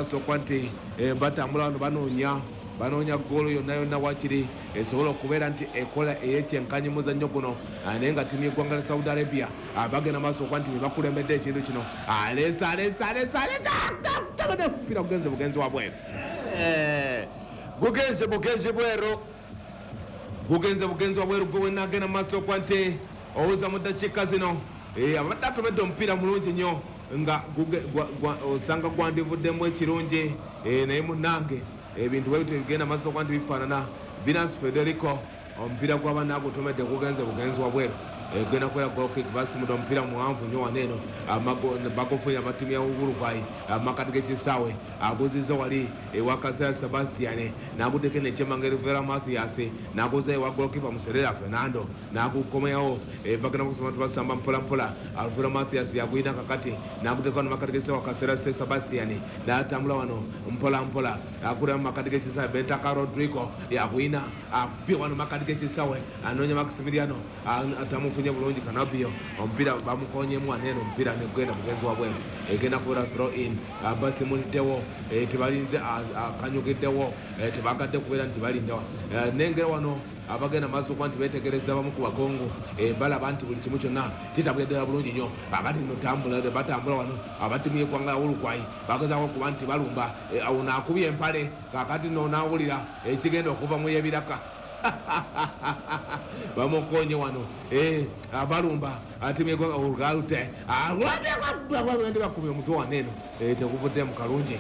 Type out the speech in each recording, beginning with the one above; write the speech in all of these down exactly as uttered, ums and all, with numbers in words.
maaso okuba nti batambula wano banoonya banoonya goolo yonna yonna wakiri esobola okubeera nti ekola ey'ekyenkanyi muzannyo guno, naye nga ttiimu y'eggwanga lya Saudi Arabia bagenda maaso okuba nti be bakulembedde ekintu kino. Aleesa aleesa aleesa aleesa omupiira gugenze bugenzi wa bweru, gugenze bugenzi bweru, gugenze bugenzi wa bweru. Gwe wenna agenda maaso okuba nti owuza mu ddakiika zino, abadde atomedde omupiira mulungi nnyo nga osanga gwandivuddemu ekirungi, naye munnange ebintu bwe bigenda maaso okuba nti bifaanana. Venus Federico omupiira gw'abaana agutomedde gugenze bugenzi wa bweru, genda kubeera goal kick. Basimudde omupiira muwanvu nnyo wano eno, bagufunye abattiimu ya Uruguay makati g'ekisaawe, aguziza wali ewa Kasera Sebastian, n'aguteeka nekyemanga Rivera Mathias, n'aguza ewa goalkeeper Muserera Fernando, n'agukomyawo. Bagenda kusoma basamba mpola mpola. Alvera Mathias yagwina kakati n'aguteeka wano makati g'ekisaawe Kasera Sebastian, n'atambula wano mpola mpola agula makati g'ekisaawe Bentaka Rodrigo yagwina akubye wano makati g'ekisaawe, anoonya Maximiliano atamufunye bulungi Kanabio, omupiira bamukonyemu wano eno, omupiira negugenda mugenzi wa bweru, egenda kubeera throw in. Basimuliddewo, tebalinze akanyugiddewo, tebagadde kubeera nti balindawa. Nengera wano abagenda maaso okuba nti beetegereza bamu ku bakongo, balaba nti buli kimu kyonna kitabula ddala bulungi nnyo. Kakati nno batambula wano abattiimu y'eggwanga ya Uruguay bagezaako okuba nti balumba, awo naakubye empale. Kakati nno naawulira ekigenda okuva mu y'ebiraka, bamukonye wano balumba atimu olugaalute bakubye omutwe wano eno, teguvuddemu kalungi.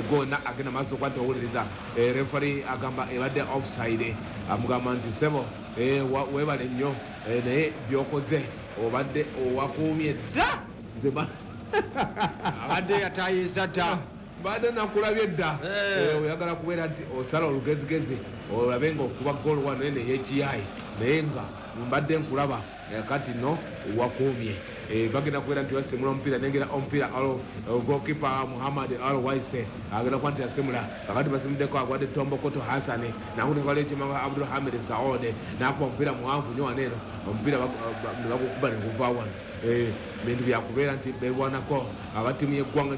Gonna agenda maaso okuba nti owuliriza refari agamba ebadde offside, amugamba nti sebo weebale nnyo, naye byokoze obadde owakuumye dda. Nze abadde yatayiza dda, mbadde nakulabye dda. Oyagala kubeera nti osala olugezigezi olabe nga okuba goolo wano eno ey'ekiyayi, naye nga mbadde nkulaba, kati no wakuumye. Bagenda kubeera nti basimula omupiira, nengera omupiira goalkeeper Muhammad Al Waise agenda kuba nti asimula. Kakati basimuddeko agwadde Tombokoto Hassan, nakutekala ekimanga Abdul Hamid Saode, nakuba omupiira muwanvu nnyo wano eno, omupiira ne bagukuba ne guva wano. Bintu byakubeera nti berwanako abattiimu y'eggwanga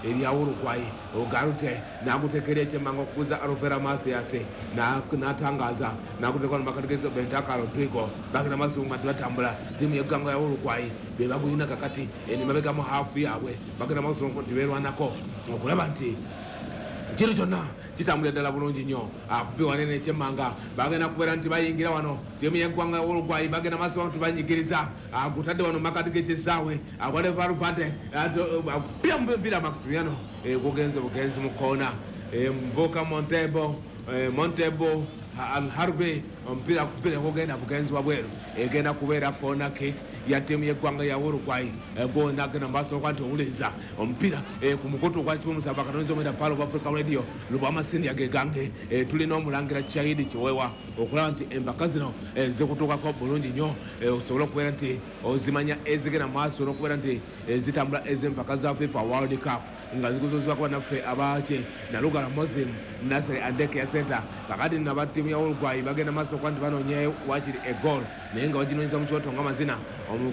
erya Uruguay. Ogarute nagutekera ekyemanga okuguza Alvera Mathias, n'atangaza nagutekera makategezo Bentaka Rodrigo. Bagenda maaso nga batambula, ttiimu y'eggwanga ya Uruguay be bagulina kakati emabega mu haafu yaabwe, bagenda maaso nti beerwanako okulaba nti kiro kyonna kitambulira ddala bulungi nnyo. Akubi wanene ekyemmanga bagenda kubeera nti bayingira wano ttiimu y'eggwanga ya Uruguay, bagenda maaso nti banyigiriza, agutadde wano makati g'ekisaawe agwale Valverde akubya mupiira Maximiano, gugenze bugenzi mu koona. Mvuka Montebo Montebo Al-Harbi omupiira akubira gugenda bugenzi wa bweru, egenda kubeera corner kick ya ttiimu y'eggwanga ya Uruguay. Gonna agenda maaso okuba nti owuliriza omupiira ku mukutu gwa kimu musaba katonzi omwenda Pearl of Africa Radio Lubwama Senior gegange. Tulina omulangira Chahidi Kiwewa okulaba nti empaka zino zikutuukako bulungi nnyo, osobole okubeera nti ozimanya ezigenda maaso n'okubeera nti zitambula ez'empaka za FIFA World Cup nga zikuzuzibwako bannaffe abaki Nalugala Muslim Nasser Andeke ya Center. Kakati nno aba ttiimu ya Uruguay bagenda maaso okuba nti banoonyeyo wakiri egoal, naye nga baginoonyeza mu kyoto nga mazina.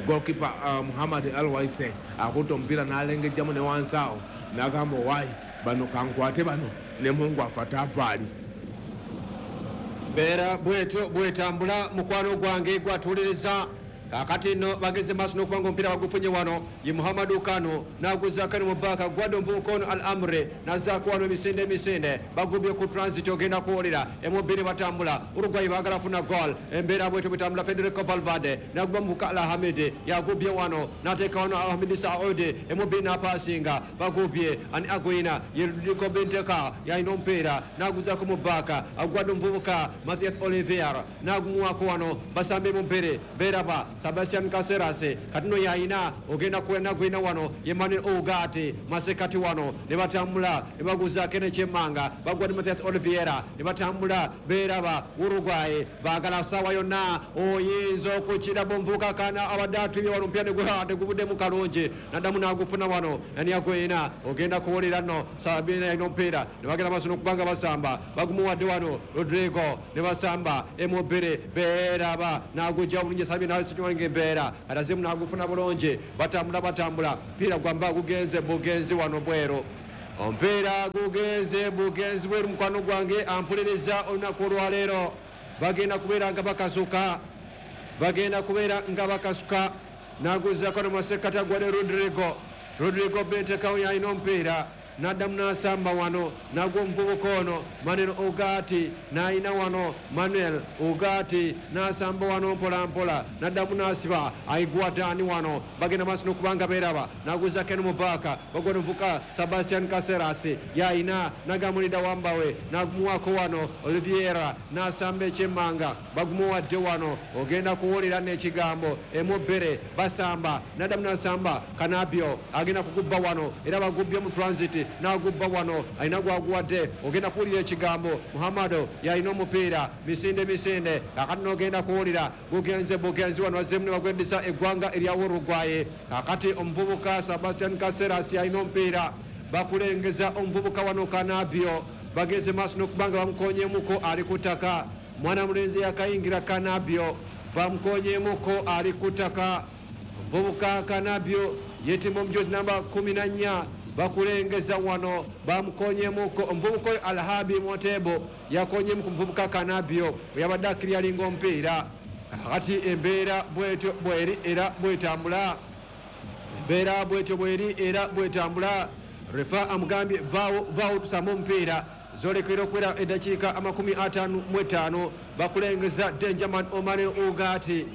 Goalkeeper Muhammad Al Waise akutte omupiira n'alengejjamu ne wansi awo n'agamba owaayi bano kankwate bano ne Mungu afate apaali. Mbeera bwetyo bwetambula mukwano gwange gwatuuliriza. Kakati nno bageze maaso n'okuba nga omupiira bagufunye wano ye Muhammadu Kano n'aguzaako eno mu bbaaka gwadde omuvubuka ono Al Amre n'azzaako wano emisinde emisinde bagubye ku transit ogenda kuwulira emu bbiri batambula Uruguay baagala funa goal. Embeera bwetyo bwetambula Federico Valverde n'aguba muvubuka Al Hamid yagubye wano n'ateeka wano Al Hamid Saudi emu bbiri n'apaasinga bagubye ani agwina ye Rodrigo Benteka yalina omupiira n'aguzaako mu bbaaka agwadde omuvubuka Mathias Olivier n'agumuwaako wano basambe mu bbiri beeraba Sebastian Caceres katino yayina ogenda kuwena gwina wano ye Manuel Ugarte masekati wano ne batambula ne baguzaako nekyemmanga bagwa ne Mathias Oliveira ne batambula beeraba Uruguay baagala saawa yonna oyinza okukira omuvubuka kana abadde atubye wano omupiira neguvuddemu kalungi naddamu n'agufuna wano nani agwina ogenda kuwulira nno Sabina yalina omupiira ne bagenda maaso n'okubanga basamba bagumuwadde wano Rodrigo ne basamba emu bbiri beeraba n'agujja bulungi Sabina nga embeera kati azimu n'agufuna bulungi batambula batambula piira gwamba gugenze bugenzi wano bweru. Omupiira gugenze bugenzi bweru. Mukwano gwange ampuliriza olunaku olwaleero, bagenda kubeera nga bakasuka, bagenda kubeera nga bakasuka. Naguzaako nomasekati agwade Rodrigo, Rodrigo Bentekawo yalina omupiira, naddamu n'asamba wano nagwo omuvubuka ono Manuel Ugati, n'ayina wano Manuel Ugati n'asamba wano mpola mpola, naddamu n'asiba aigwadani wano, bagenda maaso n'okubanga beeraba. Naguza Ken Mubaka, bagwa omuvubuka Sebastian Caceres yayina, nagamulida wambawe nagumuwako wano Oliviera n'asamba ekyemmanga, bagumuwadde wano, ogenda kuwulira n'ekigambo emubere basamba, naddamu n'asamba Kanabio agenda kugubba wano, era bagubbye mu transit n'agubba wano, alina gwaguwadde, ogenda kuwulira ekigambo Muhammado yalina omupiira, misinde misinde, kakati n'ogenda kuwulira gugenze bugenzi wano, bazzeemu ne bagweddisa eggwanga erya Uruguay. Kakati omuvubuka Sebastian Caceres yalina omupiira, bakulengeza omuvubuka wano Kanabio, bageze maaso n'okubanga bamukonyemuko ali ku ttaka. Mwana mulenzi yakayingira Kanabio, bamukonyemuko ali ku ttaka. Omuvubuka Kanabio yetimba omujozi namba kumi na nnya, bakulengeza wano bamukonyemuko. Omuvubuka oyo Alhabi Motebo yakonyemu ku muvubuka Kanabio yabadde akiryalinga omupiira. Kakati embeera bwetyo bweri era bwetambula, embeera bwetyo bweri era bwetambula. Refa amugambye vaawo vaawo tusambe omupiira. Zolekera okuwera eddakiika amakumi ataano mu etaano, bakulengeza Benjamin Omar Ugati,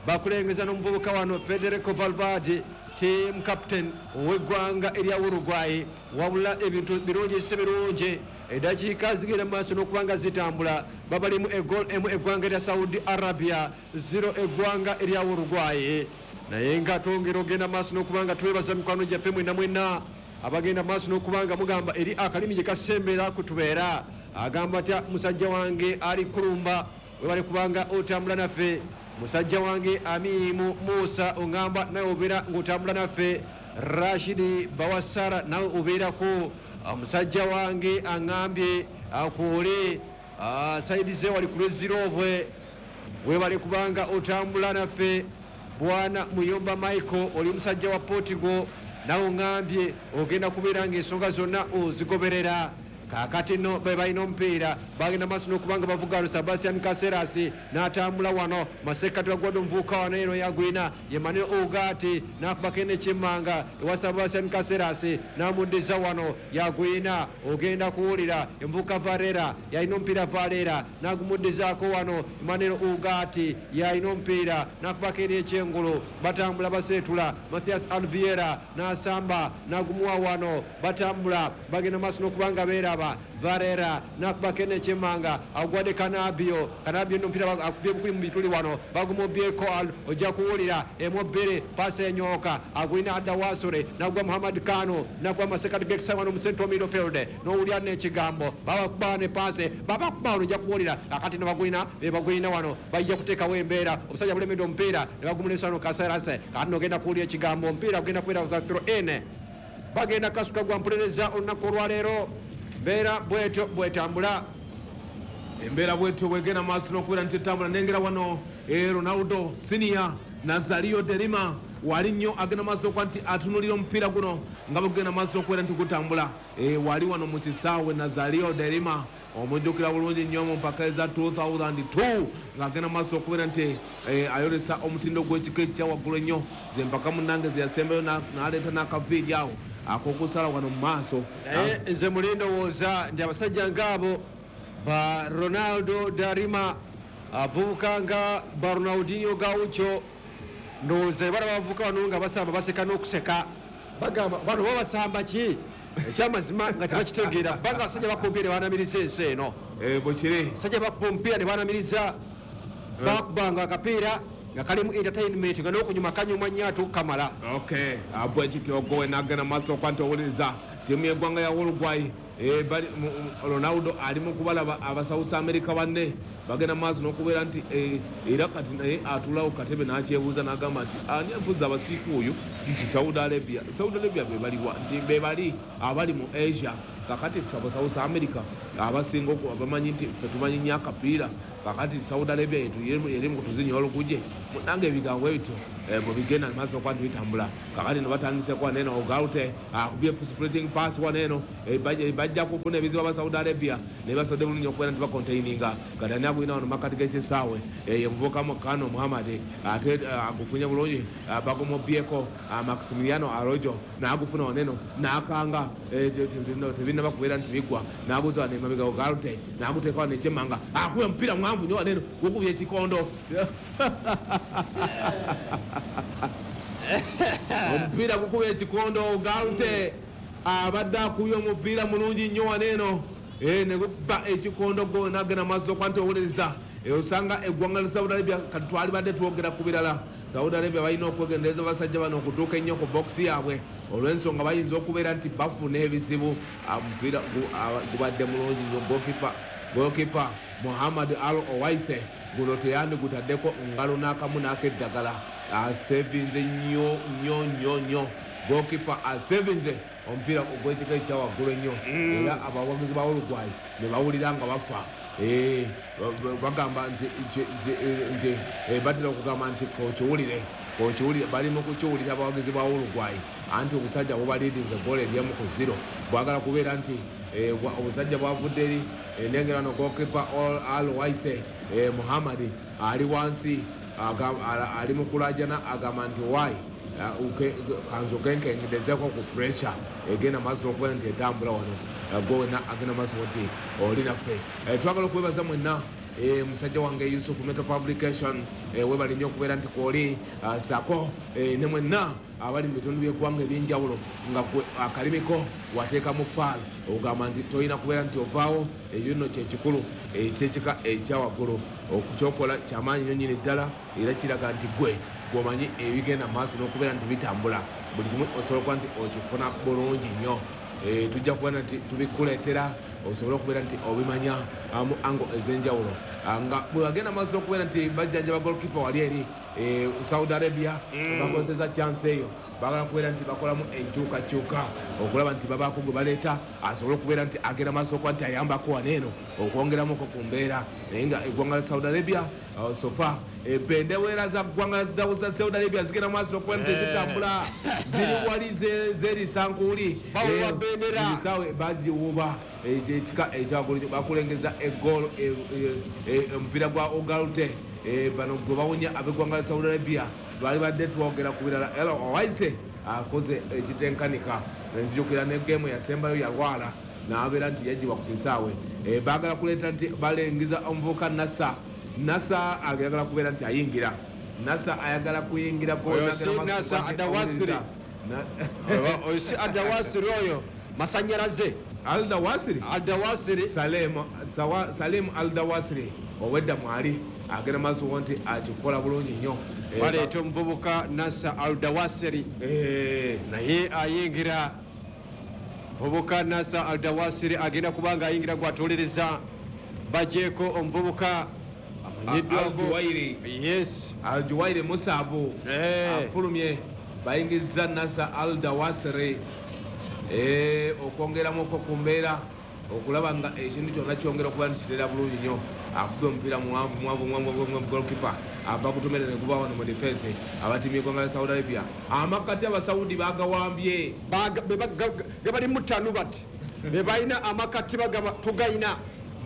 bakulengeza n'omuvubuka wano Federico Valverde, team captain ow'eggwanga erya Uruguay. Wabula ebintu birungi si birungi, eddakiika zigenda mu maaso n'okuba nga zitambula, babalimu egol emu eggwanga erya Saudi Arabia, zero eggwanga erya Uruguay. Naye nga twongera ogenda maaso n'okuba nga twebaza mikwano gyaffe mwenna mwenna abagenda maaso n'okuba nga mugamba eri akalimi gye kasembera kutubeera. Agamba atya musajja wange ali kulumba, webale kubanga otambula naffe. Musajja wange Amimu Musa ongamba nawe obeera ng'otambula naffe. Rashidi Bawasara nawe obeerako. Musajja wange aŋŋambye akwole saidi ze wali ku lw'ezzirobwe, webale kubanga otambula naffe. Bwana Muyomba Michael oli musajja wa Portugal, nawe oŋŋambye ogenda kubeera ng'ensonga zonna ozigoberera. Kakati nno be balina omupiira, bagenda maaso n'okubanga bavuga Sebastian Caceres n'atambula wano masekkati bagwadde omuvubuka wano eno yagwina ye Manuel Ugati, n'akubako enekyemmanga ewa Sebastian Caceres n'amuddiza wano yagwina, ogenda kuwulira envubuka Varela yalina omupiira, Varela n'agumuddizaako wano Manuel Ugati yalina omupiira n'akubako eri ekyengulu, batambula baseetula Mathias Alviera n'asamba n'agumuwa wano, batambula bagenda maaso n'okubanga beera Varela nakubako enekyemmanga agwadde Kanabio, Kanabio n'omupiira akubye bukuli mu bituli wano, bagumubyeko ojja kuwulira emu bbiri paasi enyooka agwina adda wasure nagwa Muhammad Kano nagwa masekati gekisa wano mu central midfield, n'owulira n'ekigambo babakuba ne paasi babakuba wano ojja kuwulira. Kakati ne bagwina be bagwina wano bajja kuteekawo embeera, obusajja bulemedde omupiira ne bagumulisa wano Caceres. Kakati n'ogenda kuwulira ekigambo, omupiira gugenda kubeera ga throw in, bagenda kasuka gwa mpuliriza olunaku olwaleero. Mbeera bwetyo bwetambula, embeera bwetyo bwegenda maaso n'okubeera nti etambula. Nengera wano Ronaldo Senior Nazario Derima wali nnyo agenda maaso okuba nti atunulira omupiira guno nga bwegenda maaso okubeera nti gutambula. Wali wano mu kisaawe Nazario Derima omujjukira bulungi nnyo mu mpaka eza two thousand two ng'agenda maaso okubeera nti ayolesa omutindo gw'ekika ekya waggulu ennyo, ze mpaka munnange ze yasembayo n'aleeta n'akaviiri awo ak'okusala wano mu maaso. Naye nze muli ndowooza nti abasajja ng'abo ba Ronaldo Darima avubuka nga ba Ronaldinho Gaucho, ndowooza bala bavubuka wano nga basamba baseka n'okuseka, bagamba bano babasamba ki ekyamazima nga tebakitegeera, kubanga abasajja bakuba omupiira ne banamiriza ensi eno. Bwekiri abasajja bakuba omupiira ne banamiriza, bakubanga akapiira nga kalimu entertainment nga n'okunyuma kanyuma nnyo ate okukamala. Okay, bwekityo gowe n'agenda maaso okuba nti owuliriza ttiimu y'eggwanga ya Uruguay. Ronaldo ali mu kubalaba Abasouth America banne bagenda maaso n'okubeera nti era kati naye atuulawo katebe n'akyebuuza n'agamba nti ani avuza abasiiku oyo nti Saudi Arabia, Saudi Arabia be baliwa nti be bali abali mu Asia Kakati ffe aba South America abasinga abamanyi nti ffe tumanyi nnyo akapiira, kakati Saudi Arabia eri mu kutuzinya oluguje. Nange ebigambo ebityo bwe bigenda maaso okuba nti bitambula. Kakati no batandiseko wano eno, Ogalte akubye splitting pass wano eno, bajja kufuna ebizibu aba Saudi Arabia naye basobodde bulungi okubeera nti bakontaininga. Kati ani agulina wano makkati g'ekisaawe? Ye muvubuka Kano Muhammad, ate agufunye bulungi, bagumubyeko Maximiliano Arojo n'agufuna wano eno n'akanga, tebinnaba kubeera nti biggwa, n'abuuza wano emabega Ogalte n'aguteeka wano ekyemmanga, akubye omupiira mwanvu nnyo wano eno, gukubye ekikondo. Omupiira gukubye ekikondo. Ogalte abadde akubye omupiira mulungi nnyo wano eno, ne gukuba ekikondo gona agenda maaso okuba nti owuliriza. Osanga eggwanga lya Saudi Arabia, kati twalibadde twogera ku birala, Saudi Arabia balina okwegendereza basajja bano okutuuka ennyo ku bokisi yaabwe olw'ensonga bayinza okubeera nti bafuna ebizibu. Omupiira gubadde mulungi nnyo. Goalkeeper goalkeeper Muhammad Al Owaise guno teyandigutaddeko ngalo n'akamu n'akeddagala, asevinze nnyo nnyo nnyo nnyo. Goalkeeper asevinze omupiira ogw'ekika ekyawaggulu ennyo, era abawagizi ba Uruguay ne bawulira nga bafa. Bagamba nti nti batera okugamba nti kokiwulire, kokiwulire, bali mu kukiwulira abawagizi ba Uruguay, anti obusajja bubaliidinze goolo eryemu ku zero. Bwagala kubeera nti obusajja bwavudde eri. Nengera no goalkeeper Al Waise Muhammad ali wansi, ali mu kulajana, agamba nti why kanzoke nkengedezeko ku pressure egenda maaso okubeera nti etambula wano. Gowena agenda maaso nti oli naffe. Twagala okwebaza mwenna, musajja wange Yusuf Metal Publication, webali nnyo okubeera nti kwoli sako ne mwenna abali mu bitundu by'eggwanga ebyenjawulo, nga gwe akalimiko wateekamu paal, ogamba nti tolina kubeera nti ovaawo. Ekyo nno kyekikulu ekyekika ekyawaggulu, okukyokola kyamaanyi nnyo nnyini ddala, era kiraga nti gwe gwomanyi ebigenda maaso n'okubeera nti bitambula, buli kimu osobola okuba nti okifuna bulungi nnyo. Tujja kubeera nti tubikuleetera osobole okubeera nti obimanya mu ango ez'enjawulo, nga bwe bagenda maaso okubeera nti bajjanjaba goalkeeper wali eri Saudi Arabia. Bakozesa chance eyo, bagala kubeera nti bakolamu enkyukakyuka okulaba nti babaako gwe baleeta asobole okubeera nti agenda maaso okuba nti ayambako wano eno okwongeramuko ku mbeera. Naye nga eggwanga lya Saudi Arabia so far, bendera za ggwanga za Saudi Arabia zigenda maaso okuba nti zitambula, ziri wali zerisankuuli bisaawe bagiwuba ekika ekyagulu. Bakulengeza egoolo, omupiira gwa Ogalte bano gwe bawunya ab'eggwanga lya Saudi Arabia. Twali badde twogera ku birala, era Owaise akoze ekitenkanika. Nzijukira ne geemu yasembayo yalwala n'abeera nti yagibwa ku kisaawe. Baagala kuleeta nti balengiza omuvubuka Nasa. Nasa ayagala kubeera nti ayingira, Nasa ayagala kuyingira. Nasa Adawasiri, oyo si Adawasiri, oyo masanyalaze. Aldawasiri. Aldawasiri. Salim Aldawasiri owedda mwali agenda maaso nti akikola bulungi nnyo. Baleeta omuvubuka Nasa Aldawasiri, naye ayingira. Muvubuka Nasa Aldawasiri agenda kuba nga ayingira gwatuuliriza, bajeeko omuvubuka amanyiddwako. Yes. Aljuwairi Musabu afulumye, bayingiza Nasa Aldawasiri okwongeramuko ku mbeera okulaba nga ekintu kyonna kyongera okuba nti kitera bulungi nnyo. Akubye omupiira muwanvu muwanvu muwanvu, goalkeeper abagutomera ne guva wano mu defense. Abatiimi eggwanga lya Saudi Arabia, amakati Abasaudi bagawambye. Gabali mutanu bati be balina amakati, tugayina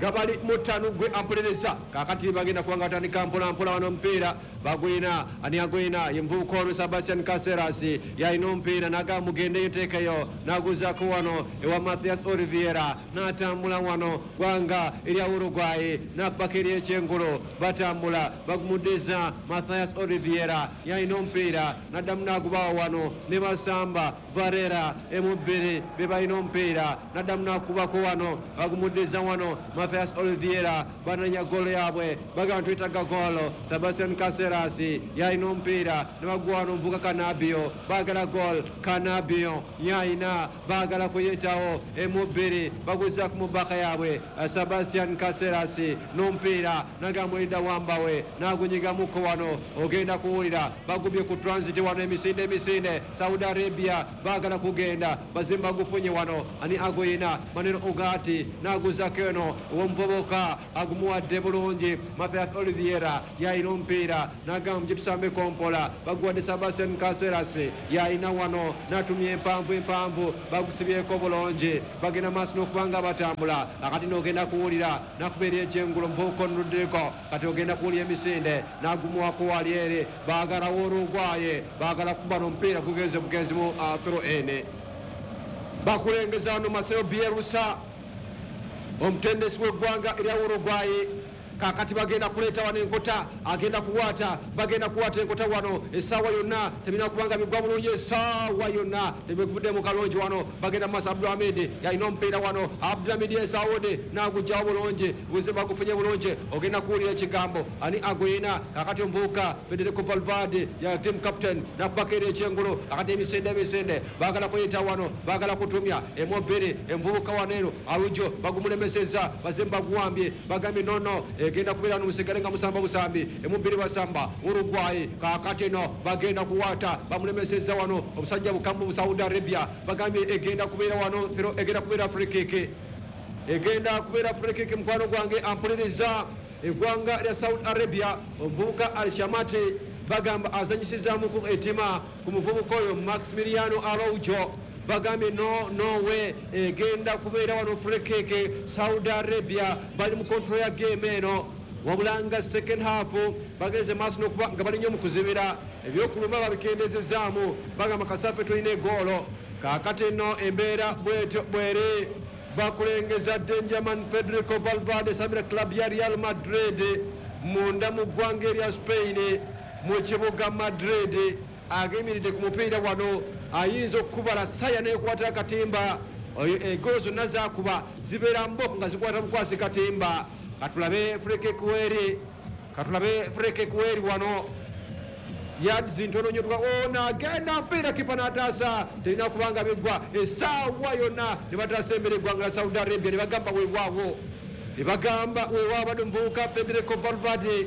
gabali mutanu. Gwe ampolereza, kakati bagenda kubanga batandika mpola mpola wano. Omupiira bagwina, ani agwina? Ye muvubuka ono Sebastian Caceres, yalina omupiira naga mugendeyo nteekeyo, naguzaako wano ewa Mathias Oliviera, n'atambula wano gwanga erya Uruguay, nakubako eri ekyengulo, batambula bagumuddiza. Mathias Oliviera yalina omupiira, naddamu nagubawa wano ne basamba Varela emubbiri be balina omupiira, naddamu nakubako wano, bagumuddiza wano. Mathias Oliveira bananya golo yaabwe bagamba twetaaga golo. Sebastian Caceres yalina omupiira ne baguwa wano omuvubuka Canabio baagala gol. Canabio yalina baagala kuyitawo emu bbiri baguzaku mu baka yaabwe. Sebastian Caceres n'omupiira nagamulidda wambawe nagunyigamuko wano ogenda kuwulira bagubye ku transit wano emisinde emisinde. Saudi Arabia baagala kugenda bazimba gufunye wano ani agoyina Manuel Ugarte naguzako eno omuvubuka agumuwadde bulungi. Mathias Oliveira yalina omupiira nagamba gitusambe kompola baguwadde Sebastian Caceres yalina wano natumya empanvu empanvu bagusibyeko bulungi bagenda maaso n'okubanga batambula. Akati n'ogenda kuwulira nakubeera ekyengulo omuvubuka onuluddeko kati ogenda kuwulira emisinde nagumuwako wali eri baagalawo Uruguay baagala kuba n'omupiira gugenze bugenzi mu throw in. Bakulengeza wano Marcelo Bielsa omutendesi w'eggwanga erya Uruguay. Kakati bagenda kuleeta wano enkota agenda kuwata bagenda kuwata enkota wano essaawa yonna tebirina kubanga bigwa bulungi essaawa yonna tebivudde mu kalungi wano bagenda mu maaso. Abdulhamid yalina omupiira wano Abdulhamid Esaudi n'agugyawo bulungi buzima gufunye bulungi ogenda kuwulira ekigambo ani agwina. Kakati omuvubuka Federico Valverde ya team captain nakubaka eri ekyengulu. Kakati emisinde emisinde baagala kuyita wano baagala kutumya emu bbiri envubuka wano eno Arujo bagumulemesezza bazimba guwambye bagambye nono egenda kubeera n'omusigale nga musamba busambi emu bbiri basamba Uruguay. Kakati no bagenda kuwata bamulemesezza wano omusajja bukambu mu Saudi Arabia bagambye egenda kubeera wano egenda kubeera free kick egenda kubeera free kick. Mukwano gwange ampuliriza eggwanga lya Saudi Arabia omuvubuka Al-Shamati bagamba azanyisizaamuku etima ku muvubuka oyo Maximiliano Araujo bagambye no no way egenda kubeera wano free kick. Saudi Arabia bali mu control ya game eno wabulanga second half bagenze maaso n'okuba nga bali nnyo mu kuzibira ebyokuluma babikendezezaamu bagamba kasafe tulina egoolo. Kaakati nno embeera bwetyo bwere bakulengeza Benjamin Federico Valverde samira club ya Real Madrid munda mu ggwanga erya Spain mu kibuga Madrid agemiridde ku mupiira wano ayinza okukubala saya n'ekwata akatimba egolo zonna zakuba zibeera mboko nga zikwata bukwasi katimba. Katulabe free kick weri katulabe free kick weri wano yards ntono nnyo ona agenda mpiira kipa n'ataasa terina kubanga biggwa essaawa yonna ne bataasa embere eggwanga la Saudi Arabia ne bagamba weewaawo ne bagamba weewaawo badde omuvubuka Federico Valverde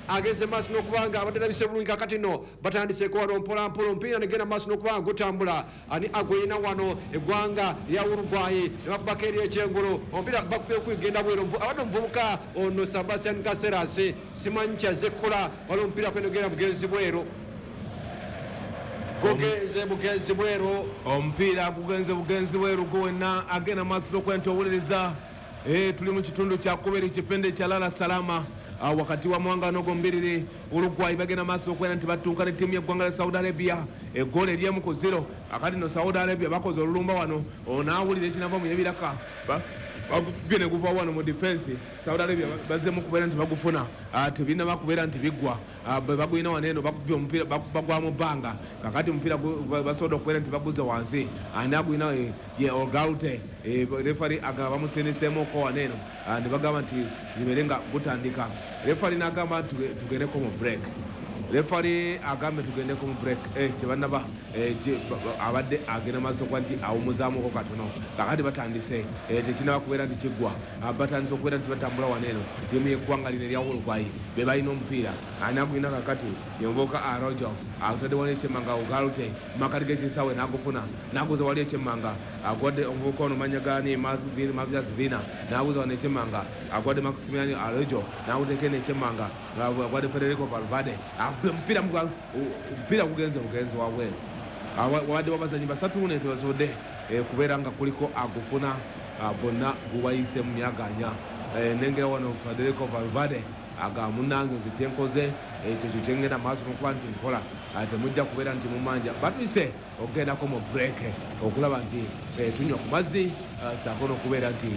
ageze maaso n'okubanga abadde alabise bulungi. Kakati nno batandiseeko wano mpolampola omupiira negenda maaso n'okubanga gutambula ani agwina wano eggwanga lya Uruguay ne bakubako eri ekyengulu omupiira bakubye okugenda bweru abadde omuvubuka ono Sebastian Caceres simanyi kyazze kukola waliwo omupiira kwenogenda bugenzi bweru gugenze bugenzi bweru omupiira gugenze bugenzi bweru gwe wenna agenda maaso n'okuba nti owuliriza. E, tuli mu kitundu kya kubiri kipindi kya Lala Salama uh, wakati wa mwanga nogo mbiriri Uruguay bagenda maaso okwera nti batunka ne ttiimu y'eggwanga lya Saudi Arabia eggoolo eryemu ku zero. Akati no Saudi Arabia bakoze olulumba wano onaawulira ekinava mu yebiraka bagene guva wano mu defense. Saudi Arabia bazzemu kubeera nti bagufuna uh, tebinaba kubeera nti biggwa uh, bwe bagulina wano eno bakubye omupiira bagwa mu bbanga. Kakati omupiira basobodde okubeera nti baguze wansi ani agulina ye Ogalte refari agaba bamusindiseemuko wano eno ne bagamba nti libeere nga gutandika. Refari n'agamba nti tugendeko mu break. Refari agambe tugendeko mu break eh, tebannaba eh, abadde agenda maaso okuba nti awumuzaamuko katono. Kakati batandise eh, tekinaba kubeera nti kiggwa batandise okubeera nti batambula wano eno ttiimu y'eggwanga lino erya Uruguay be balina omupiira ani agulina kakati yenvubuka Arojo atadde wali ekyemmanga Ugarte makati g'ekisaawe n'agufuna n'aguza wali ekyemmanga agwadde omuvubuka ono manya gani Mathias Vina n'aguza wano ekyemmanga agwadde Maximiliano Araujo n'aguteeka eno ekyemmanga agwadde Federico Valverde omupiira omupiira gugenze bugenzi wabweru wabadde wabazanyi basatu ne tebasobodde kubeera nga kuliko agufuna bonna gubayise mu myaganya. Nengera wano Federico Valverde aga munnange nze kyenkoze kyekyo kyengenda maaso n'okuba nti nkola temujja kubeera nti mumanja batuyise okugendako mu break okulaba nti tunywa ku mazzi saako n'okubeera nti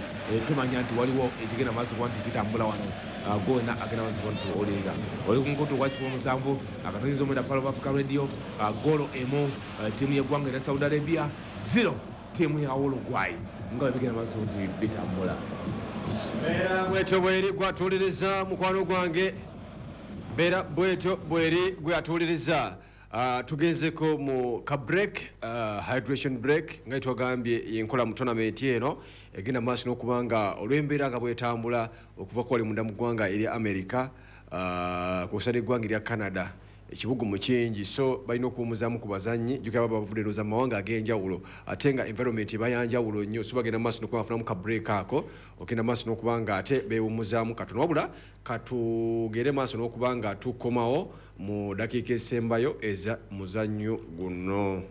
tumanya nti waliwo ekigenda maaso kuba nti kitambula wano gona agenda maaso kuba nti owuliriza oli ku mukutu gwa kikumi musanvu akatonyeza omwenda Pearl of Africa Radio goolo emu ttiimu y'eggwanga erya Saudi Arabia zero ttiimu ya Uruguay nga bwe bigenda maaso nti bitambula. Mbeera bwetyo bweri gwatuuliriza mukwano gwange, mbeera bwetyo bweri gwatuuliriza. Uh, tugenzeko mu ka break, uh, hydration break nga twagambye yenkola mu tournament eno egenda maaso n'okubanga olw'embeera nga bwetambula okuva kwali munda mu ggwanga erya America, uh, kw'ossa n'eggwanga erya Canada, ekibugumu kingi, so balina okuwummuzaamu ku bazannyi. Jjukira baba bavudde ndowooza mu mawanga ag'enjawulo ate nga environment eba ya njawulo nnyo, so bagenda maaso n'okuba bafunamu ka break ako okugenda maaso n'okuba nga ate beewummuzaamu katono. Wabula katugende maaso n'okuba nga tukomawo mu dakiika esembayo eza muzannyo guno.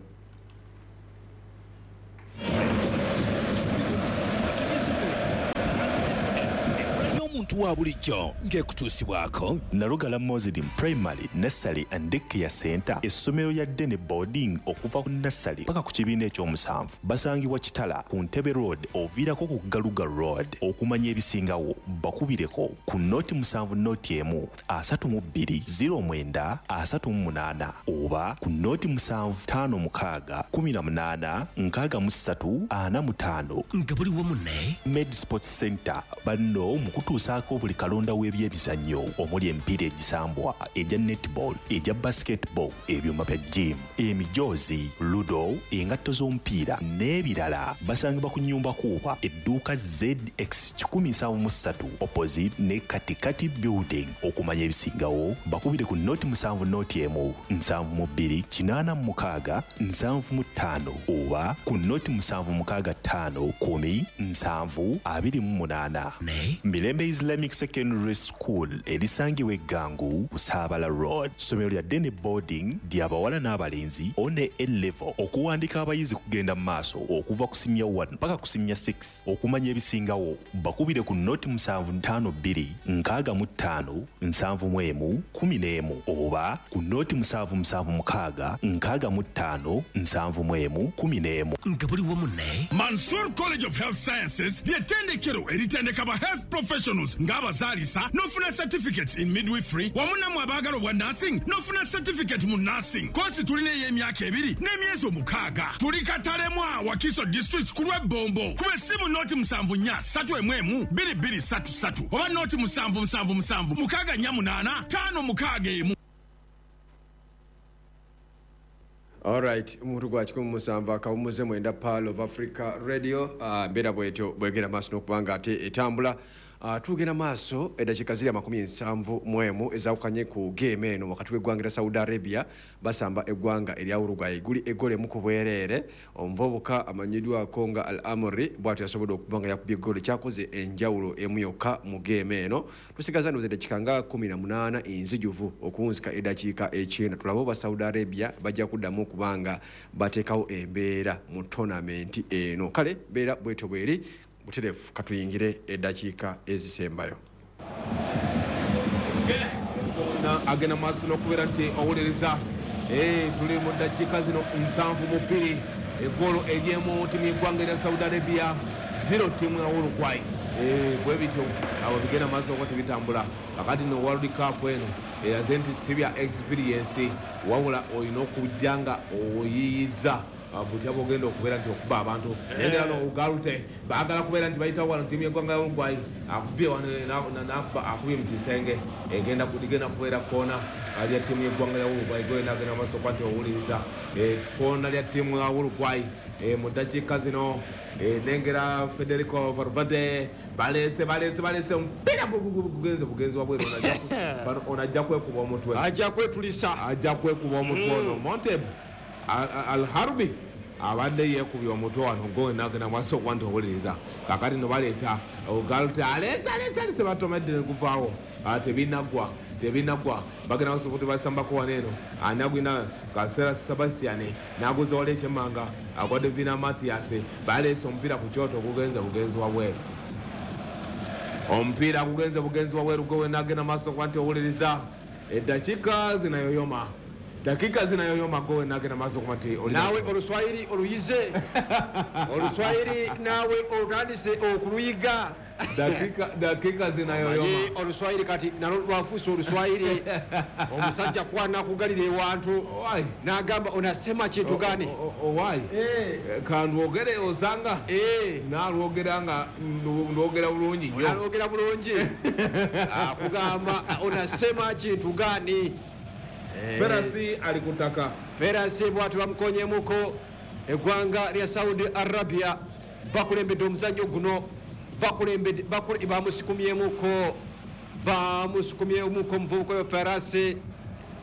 Omuntu wa bulijjo ng'ekutuusibwako Nalugala Muslim Primary Nursery and Daycare Center, essomero lya Dene Boarding okuva ku nursery paka ku kibiina ekyomusanvu. Basangibwa Kitala ku Ntebe Road oviirako ku Galuga Road. Okumanya ebisingawo bakubireko ku noti musanvu noti emu asatu mu bbiri ziro mwenda asatu mu munaana oba ku noti musanvu ttaano mukaaga kumi na munaana nkaaga mu ssatu ana mu ttaano. Nga buli wamu ne Med Sports Center banno mu kutuusaako buli kalonda w'ebyemizannyo omuli emipiira egisambwa, egya netball, egya basketball, ebyuma bya gym, emijoozi, ludo, engatto z'omupiira n'ebirala. Basangibwa ku nnyumba kuuba edduuka Z X kikumi nsanvu mu ssatu opposite ne Katikati Building. Okumanya ebisingawo bakubire ku noti musanvu noti emu nsanvu mu bbiri kinaana mu mukaaga nsanvu mu ttaano oba ku noti musanvu mukaaga ttaano kumi nsanvu abiri mu munaana. Ne Mirembe Islamic Secondary School erisangibwa Eggangu Busaabala Road. Ssomero lya Dene Boarding ly'abawala n'abalenzi one A level. Okuwandika abayizi kugenda mu maaso okuva ku senior one paka ku senior six. Okumanya ebisingawo bakubire ku noti musanvu ttaano bbiri nkaaga mu ttaano nsanvu mu emu kumi n'emu oba ku noti musanvu musanvu mukaaga nkaaga mu ttaano nsanvu mu emu kumi n'emu. Nga buli wamu ne Mansour College of Health Sciences ly'ettendekero eritendeka ba health professionals ng'abazaalisa n'ofuna certificates in midwifery wamu nammwe abaagala obwa nursing n'ofuna certificate mu nursing. Koosi tulina ey'emyaka ebiri n'emyezi omukaaga. Tuli Katalemwa, Wakiso District ku lw'Ebbombo. Kuba essimu noti musanvu nnya ssatu emu emu bbiri bbiri ssatu ssatu oba noti musanvu musanvu musanvu mukaaga nnya munaana ttaano mukaaga emu. Alright, omuntu gwa kikumi mu musanvu akawummuze mwenda Pearl of Africa Radio. uh, mbeera bwetyo bwegenda maaso n'okubanga ate etambula. Uh, tugenda maaso eddakiika ziri amakumi ensanvu mu emu ezaawukanye ku game eno wakati w'eggwanga lya Saudi Arabia basamba eggwanga erya Uruguay guli eggolo emu ku bwereere. Omuvubuka amanyiddwako nga Al Amri bw'atyo yasobodde okuba nga yakubye eggolo kyakoze enjawulo emu yokka mu game eno. Tusigaza ndowooza eddakiika nga kumi na munaana enzijuvu okuwunzika eddakiika ekyenda. Tulabe oba Saudi Arabia bajja kuddamu okuba nga bateekawo embeera mu tournament eno. Kale mbeera bwetyo bweri butereevu, katuyingire eddakiika ezisembayo. Na agenda maaso n'okubeera nti owuliriza. Eh, tuli mu ddakiika zino nsanvu mu bbiri, eggolo ery'emu ttiimu y'eggwanga erya Saudi Arabia zero ttiimu ya Uruguay. Eh, bwe bityo awo bigenda maaso okuba tebitambula. Kakati no World Cup eno eraze nti si bya experience, wabula olina okujja nga oyiyiza butya bw'ogenda okubeera nti okuba abantu. Naye no Ugarute baagala kubeera nti bayitawo wano ttiimu y'eggwanga ya Uruguay akubye wano n'akuba akubye mu kisenge egenda ligenda kubeera koona lya ttiimu y'eggwanga ya Uruguay. Gwena agenda maaso okuba nti owuliriza koona lya ttiimu ya Uruguay mu ddakiika zino. Nengera Federico Valverde balese balese balese omupiira gugenze bugenzi wabweru, ono ajja kwekuba omutwe, ajja kwetulisa, ajja kwekuba omutwe ono Monteb Al Harbi abadde yeekubye omutwe wano gwena agenda maaso okuba nti owuliriza. Kakati no baleeta Ugarute aleese aleese aleese batomedde ne guvaawo, tebinaggwa tebinaggwa bagenda maaso okuba basambako wano eno anagwina Kasera Sebastian n'aguza wali ekyemmanga agwadde Vina Matias baleese omupiira ku kyoto gugenze bugenzi wabweru, omupiira gugenze bugenzi wabweru gwena agenda maaso okuba nti owuliriza. Eddakiika zinayoyoma, dakika zinayoyoma gwe nagenda maaso okuba nti naawe oluswayiri oluyize oluswayiri naawe otandise okuluyiga. Dakika dakika zinayoyoma. Oluswahili kati nalwo lwafuuse Oluswahili. Omusajja kwana kugalira ewantu n'agamba onasema kintu gani? Owai kandwogere osanga nalwogera nga ndwogera bulungi nnyo. Nalwogera bulungi. Akugamba onasema kintu gani? Ferasi ali kutaka. Ferasi bwatu bamukonyemuko eggwanga lya Saudi Arabia bakulembedde omuzannyo guno. Bakulembedde bakule bamusikumyemuko bamusikumyemuko omuvubuka oyo Ferasi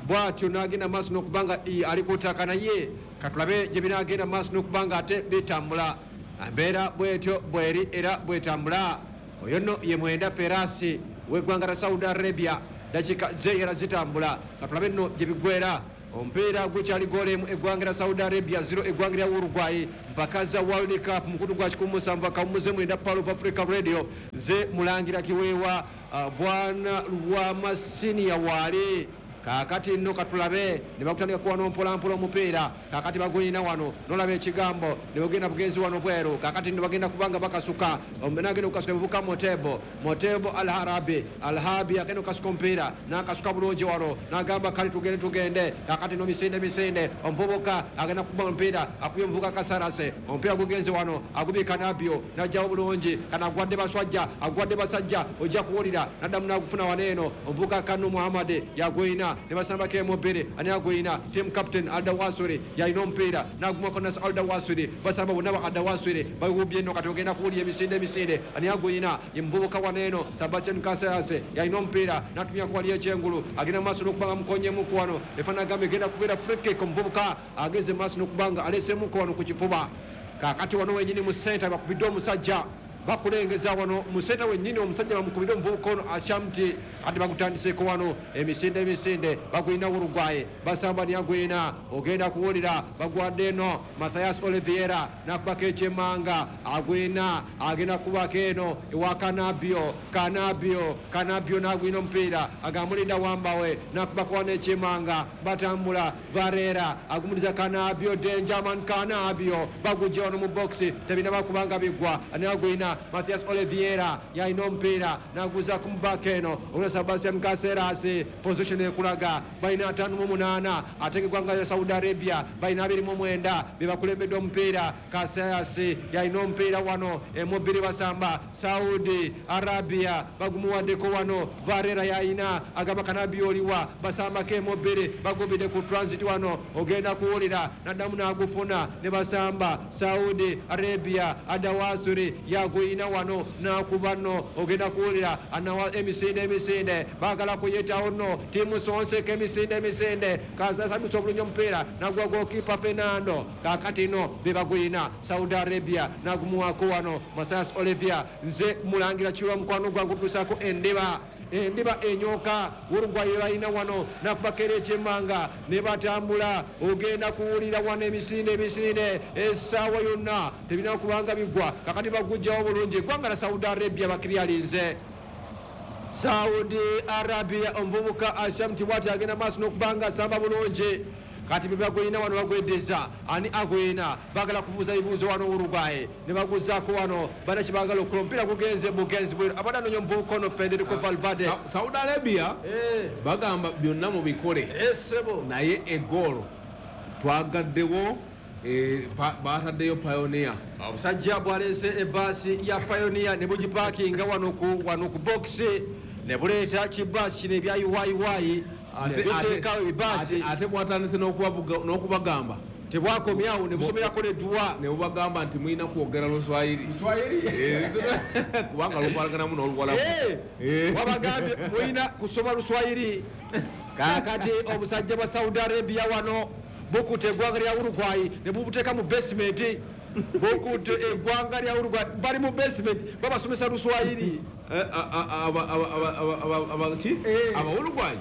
bwatyo n'agenda maaso n'okubanga ali kutaka, naye katulabe gye binaagenda maaso n'okubanga ate bitambula. Embeera bwetyo bweri era bwetambula. Oyo nno ye mwenda Ferasi w'eggwanga lya Saudi Arabia. Dakika ze era zitambula, katulabe nno gye biggwera. Omupiira gukyali goal emu eggwanga lya Saudi Arabia zero eggwanga lya Uruguay mpaka za World Cup mukutu gwa kikumi musanvu akawummuze mwenda Pearl of Africa Radio. Ze mulangira kiweewa uh, bwana Lwamasiniya waali. Kakati nno katulabe ne bakutandika kuwa mpolampola omupiira. Kakati baguyina wano nolaba ekigambo ne bagenda bugenzi wano bweru. Kakati nno bagenda kubanga bakasuka nagenda okukasuka ebivuka Motebo Motebo Alharabi Alhabi agenda okukasuka omupiira n'akasuka bulungi wano n'agamba kale tugende tugende. Kakati nno misinde misinde omuvubuka agenda kukuba omupiira akubye omuvubuka Kasarase omupiira gugenze wano agubye Kanabio n'ajjawo bulungi kanagwadde baswajja agwadde basajja ojja kuwulira n'addamu n'agufuna wano eno omuvubuka Kanu Muhammad yaguyina ne basambako emubiri ani aguyina team captain Aldawasuri yalina omupiira n'agumako Nas Aldawasuri basamba bonna ba Aldawasuri bagubye nno kati ogenda kuwulira emisinde emisinde ani aguyina ye muvubuka wano eno Sebastian Kasarase yalina omupiira n'atumyako wali ekyengulu agenda maaso n'okubanga mukonyemuku wano efaanagamba egenda kubeera free kick. Omuvubuka ageze maaso n'okubanga aleesemuku wano ku kifuba. Kakati wano wenyini mu senta bakubidde omusajja bakulengeza wano mu senta wennyini omusajja bamukubidde omuvubuka ono Ashamti. Kati bagutandiseeko wano emisinde emisinde bagwina Uruguay basamba niyagwina ogenda kuwulira bagwadde eno Mathias Oliveira nakubako ekyemanga agwina agenda kubako eno ewa Kanabio Kanabio Kanabio n'agwina omupiira agamulinda wambawe nakubako wano ekyemanga batambula Varela agumuliza Kanabio Dangerman Kanabio bagujja wano mu boxi tebinaba kubanga bigwa anagwina Mathias Oliveira yalina omupiira naguza ku mubaka eno olwa Sebastian Caceres position ekulaga balina ataano mu munaana ate eggwanga lya Saudi Arabia balina abiri mu mwenda be bakulembedde omupiira. Caceres yalina omupiira wano emubiri basamba Saudi Arabia bagumuwaddeko wano Varela yalina agamba Kanabio oliwa basambako emubiri bagubidde ku transit wano ogenda kuwulira naddamu n'agufuna ne basamba Saudi Arabia Adawasuri yaguyina wano n'akuba nno ogenda kuwulira anawa emisinde emisinde baagala kuyitawo nno tiimu sonseka emisinde emisinde kasadutsa obulungi omupiira nagwa gokipa Fernando. Kakati nno be baguyina Saudi Arabia nagumuwako wano Mathias Oliveira. Nze mulangira kiwa mukwano gwange otuusaako endiba endiba enyoka Uruguay balina wano nakubakera ekyemmanga ne batambula ogenda kuwulira wano emisinde emisinde essaawa yonna tebirina kubanga bigwa. Kakati bagujjawo bulungi eggwanga lya Saudi Arabia bakiryalinze Saudi Arabia omuvubuka Ashamti bwati agenda maaso n'okubanga asamba bulungi. Kati bebagwina wano bagwedeza ani agwina bagala kubuuza bibuuzo wano Uruguay ne baguzaako wano bana kibagala okukola omupiira gugenze bugenzi bweru abadde anoonya omuvubuka ono Federico Valverde. Saudi Arabia bagamba byonna mubikole naye eggoolo twagaddewo bataddeyo Pioneer. Omusajja bw'aleese ebbaasi ya Pioneer ne bugipaakinga wano ku wano ku bokisi ne buleeta kibaasi kino ebya yuwayiwayi biteekawo ebibaasi ate bwatandise n'okubagamba tebwakomyawo ne busomerako nedduwa ne bubagamba nti mulina kwogera Luswahili kubanga lukwalaganamu n'Oluwalabu. Wabagambye mulina kusoma Luswahili. Kaakati obusajja bwa Saudi Arabia wano bukutte eggwanga lya Uruguay ne bubuteeka mu basement. Bukutte eggwanga lya Uruguay bali mu basement babasomesa Luswahili. Aba Uruguay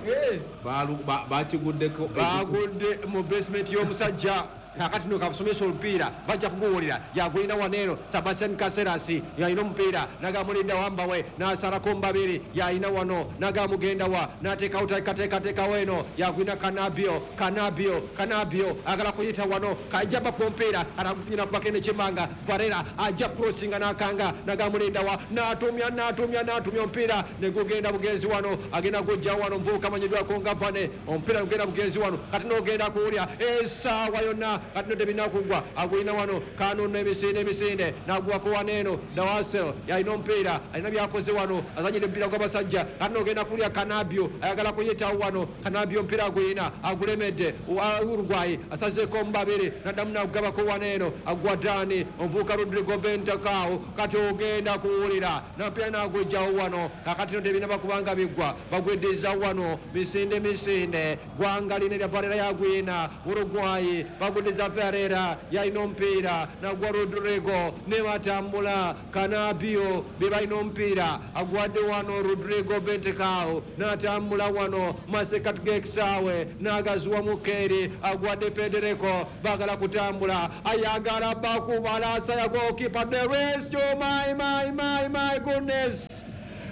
bakiguddeko bagudde mu basement y'omusajja Kakati no kabasomesa omupiira bajja kuguwulira. Yagulina waneeno Sebastian Caceres yalina omupiira nagamulinda wambawe n'asalako mbabiri yalina wano nagamugenda wa n'ateekawo tekateekateekawo eno yagulina Kanabio Kanabio Kanabio agala kuyita wano kajja bakuba omupiira anagufunyira kubako eno ekyemmanga Varela ajja crossinga n'akanga nagamulinda wa n'atumya n'atumya n'atumya omupiira ne gugenda bugenzi wano agenda gujja wano omuvubuka amanyiddwako nga Vane omupiira gugenda bugenzi wano kati n'ogenda kuwulya essaawa yonna kati no tebinakugwa agulina wano Kanu n'emisinde emisinde n'agwako wano eno Dawasel yalina omupiira alina byakoze wano azanyidde omupiira gw'abasajja kati n'ogenda kulya Kanabio ayagala kuyitawo wano Kanabio omupiira agulina agulemedde Uruguay asazeeko mu babiri naddamu n'agugabako wano eno Agwadani omuvubuka Rodrigo Bentancur kati ogenda kuwulira n'omupiira n'agujjawo wano kakati no tebinaba kubanga biggwa bagweddiza wano misinde misinde gwanga lino erya Varela yagwina Uruguay bagweddiza Varela yalina omupiira nagwa Rodrigo ne batambula Kanabio be balina omupiira agwadde wano Rodrigo Bentancur n'atambula wano masekati g'ekisaawe n'agaziwa Mukeri agwadde Federico bagala kutambula ayagala bakubalasa ya goalkeeper the rest. Oh my my my my goodness,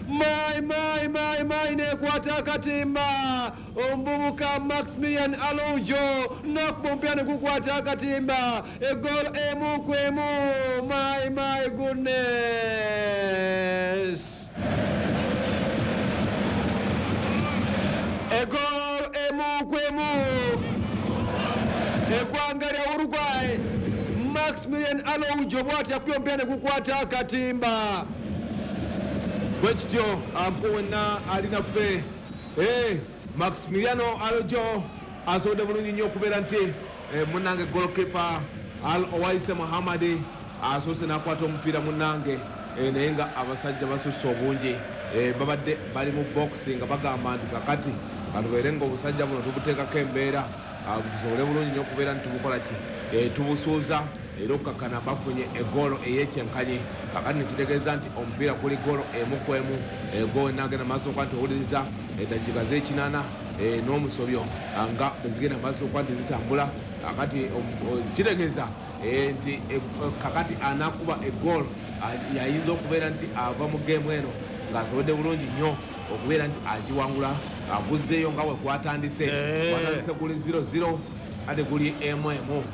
my my my my nekwata akatimba omuvubuka Maximilian Araujo nakuba omupiira ne gukwata akatimba eggoolo emu ku emu. My my goodness, eggoolo emu ku emu eggwanga lya Uruguay. Maximilian Araujo bw'ati yakubye omupiira ne gukwata akatimba. Bwe kityo gwe wenna alinaffe Maximiliano Araujo asobodde bulungi nnyo okubeera nti munnange goalkeeper Al Owaise Muhammad asoose n'akwata omupiira munnange, naye nga abasajja basusse obungi babadde bali mu box nga bagamba nti kakati katubeere nga obusajja buno tubuteekako embeera tusobole bulungi nnyo okubeera nti tubukola ki tubusuuza era okukakana bafunye eggoolo ey'ekyenkanyi. Kakati nekitegeeza nti omupiira guli ggoolo emu ku emu. Gwe wenna agenda maaso okuba nti owuliriza eddakiika z'ekinaana n'omusobyo nga bwe zigenda maaso okuba nti zitambula. Kakati kitegeeza nti kakati anaakuba eggoolo yayinza okubeera nti ava mu geemu eno ng'asobodde bulungi nnyo okubeera nti agiwangula aguzzeeyo nga we gwatandise gwatandise guli zero zero ate guli emu emu.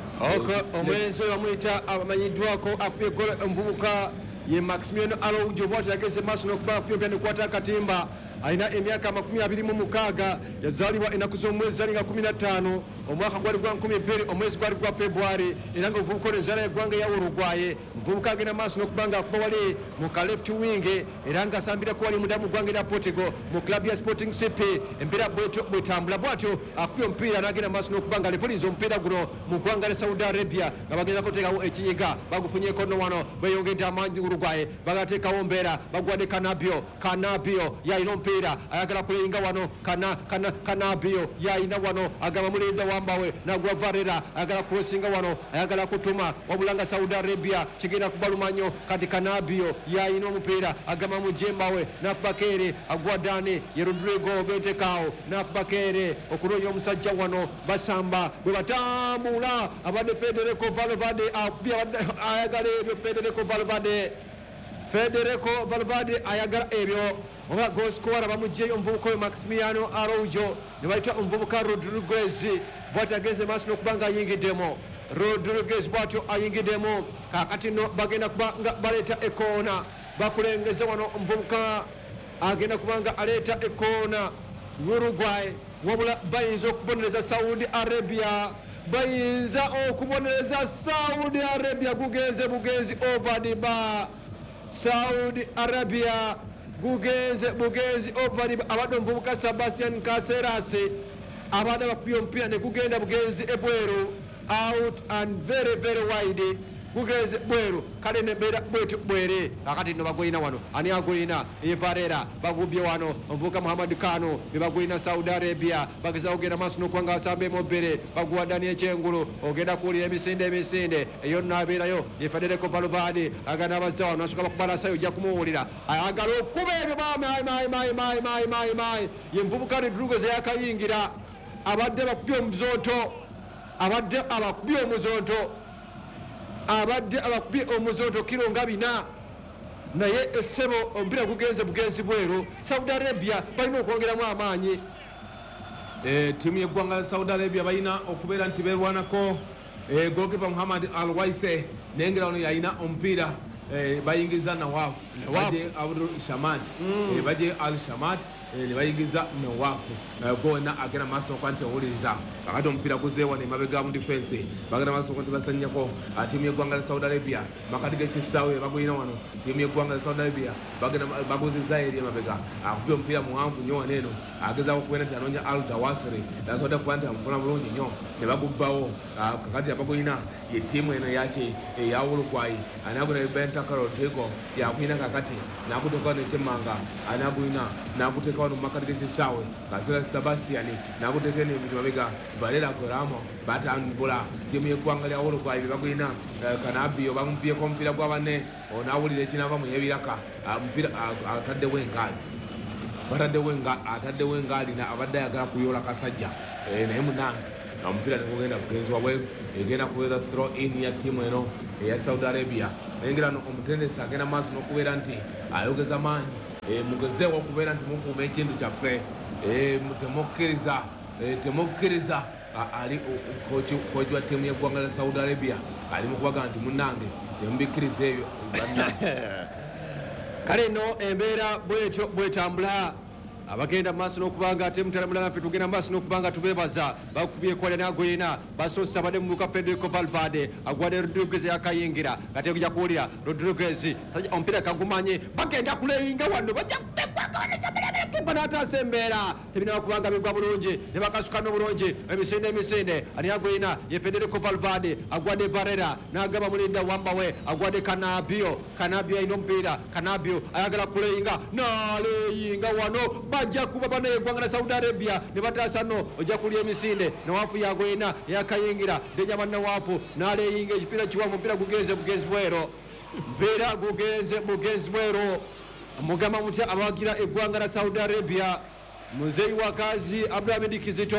Omulenzi oyo bamuyita abamanyiddwako akubye eggoolo omuvubuka ye Maximiliano Araujo bw'atyo yageze maaso n'okuba akubye omupiira ne gukwata akatimba. Alina emyaka amakumi abiri mu mukaaga yazaalibwa ennaku z'omwezi zali nga kumi na ttaano omwaka gwali gwa nkumi bbiri omwezi gwali gwa February era nga omuvubuka ono enzaala y'eggwanga ya Uruguay. Omuvubuka agenda maaso n'okuba nga akuba wali mu ka left wing era nga asambirako wali munda mu ggwanga erya Portugal mu club ya Sporting C P. Embeera bwetyo bwetambula bw'atyo akubye omupiira n'agenda maaso n'okuba nga alevuliza omupiira guno mu ggwanga lya Saudi Arabia nga bagezako okuteekawo ekinyiga bagufunyeeko nno wano beeyongedde amaanyi Uruguay bagateekawo mbeera bagwadde Kanabio Kanabio yalina omupiira ayagala kuleyinga wano kana kana Kanabio yalina wano agamba mulinda wambawe nagwa Varela ayagala crossinga wano ayagala kutuma wabula nga Saudi Arabia kigenda kubaluma nnyo kati Kanabio yalina omupiira agamba mujembawe nakubakere agwa Dani ye Rodrigo Bentancur nakubakere okunoonya omusajja wano basamba bwe batambula abadde Federico Valverde ayagala ebyo Federico Valverde Federico Valverde ayagala ebyo oba goalscorer bamuggyeyo omuvubuka oyo Maximiliano Araujo ne bayita omuvubuka Rodriguez bw'atyo agenze maaso n'okuba nga ayingiddemu Rodriguez bw'atyo ayingiddemu. Kaakati nno bagenda kuba nga baleeta ekoona bakulengeze wano omuvubuka agenda kuba nga aleeta ekoona Uruguay wabula bayinza okubonereza Saudi Arabia bayinza okubonereza Saudi Arabia gugenze bugenzi over the bar. Saudi Arabia gugenze bugenzi over the bar. Abadde omuvubuka Sebastian Caceres abadde bakubye omupiira ne gugenda bugenzi ebweru out and very very wide gugenze bweru kale nembeera bwetyo bwere. Kakati nno bagwina wano ani agwina ye Varela bagubye wano omuvubuka Muhammad Kano be bagwina Saudi Arabia bagezaako ogenda maaso n'okuba nga basamba emobere baguwa Daniel Kyengulu ogenda kuwulira emisinde emisinde eyo nno abeerayo ye Federico Valverde agenda abazza wano asooka bakubalasayo ojja kumuwulira ayagala okuba ebyo my my my my my my my ye muvubuka Rodriguez eyakayingira abadde bakubye omuzooto Abadde abakubye omuzonto, abadde abakubye omuzonto kiro nga bina, naye essebo omupiira gugenze bugenzi bweru. Saudi Arabia balina okwongeramu amaanyi. Eh, ttiimu y'eggwanga lya Saudi Arabia balina okubeera nti beerwanako. Eh, goalkeeper Muhammad Al Waise nengera ono yalina omupiira, eh, bayingiza Nawaf, baje Abdul Shamat, eh, baje Al Shamat, eh, ne bayingiza Nawaf. Eh, gona agenda maaso okuba nti owuliriza kakati omupiira guzeewa ne mabega mu defense, bagenda maaso okuba nti basanyako ttiimu y'eggwanga lya Saudi Arabia. Makati g'ekisaawe bagulina wano ttiimu y'eggwanga lya Saudi Arabia, bagenda baguzizza eri emabega, akubye omupiira muwanvu nnyo wano eno, agezaako okubeera nti anoonya Al Dawasiri, tasobodde kuba nti amufuna bulungi nnyo ne bagubbawo. Kakati abagulina ye ttiimu eno yaki eya Uruguay, anagula Bentaka Rodrigo yakulina kakati n'aguteeka nekyemmanga, anagulina n'aguteeka wano mu makati g'ekisaawe Kasira Sebastian n'aguteeka eno emiri mabega Valera Goramo batambula ttiimu y'eggwanga lya Uruguay bye bagulina. Kanabio bamubyeko omupiira gwa banne, onaawulira ekinava mu y'ebiraka, omupiira ataddewo engaali, bataddewo ataddewo engaali abadde ayagala kuyoola kasajja, naye munange omupiira negugenda bugenzi wabweru, egenda kubeera throw in ya ttiimu eno eya Saudi Arabia. Nengera omutendesi agenda maaso n'okubeera nti ayogeza maanyi, mugezeewo okubeera nti mukuuma ekintu kyaffe, temukkiriza temukkiriza ali kochi wa ttiimu y'eggwanga lya Saudi Arabia ali mu kubaga nti munnange temubikkiriza ebyo bannange. Kale nno embeera bwetyo bwetambula. Abagenda maaso n'okubanga ate mutala mulala naffe tugenda maaso n'okubanga tubeebaza. Bakubye kwalya n'agoyina basoose abadde mu muka Federico Valverde agwadde Rodriguez yakayingira kati ojja kuwulira Rodriguez omupiira kagumanye, bagenda kuleyinga wano bajja kubekwakabaneza n'ataasa embeera tebinaba kubanga bigwa bulungi ne bakasuka n'obulungi emisinde emisinde ani agoyina ye Federico Valverde agwadde Varela n'agaba mulinda wambawe agwadde Kanabio. Kanabio alina omupiira, Kanabio ayagala kuleyinga n'aleyinga wano bajja kuba bana eggwanga la Saudi Arabia ne bataasa nno ojja kulya emisinde. Nawafu yagoyina yakayingira Benjamin Nawafu n'aleyinga ekipiira kiwanvu, omupiira gugenze bugenzi bwero, mpiira gugenze bugenzi bwero. Mugamba mutya abawagira eggwanga la Saudi Arabia? Muzeeyi wakazi Abdulhamid Kizito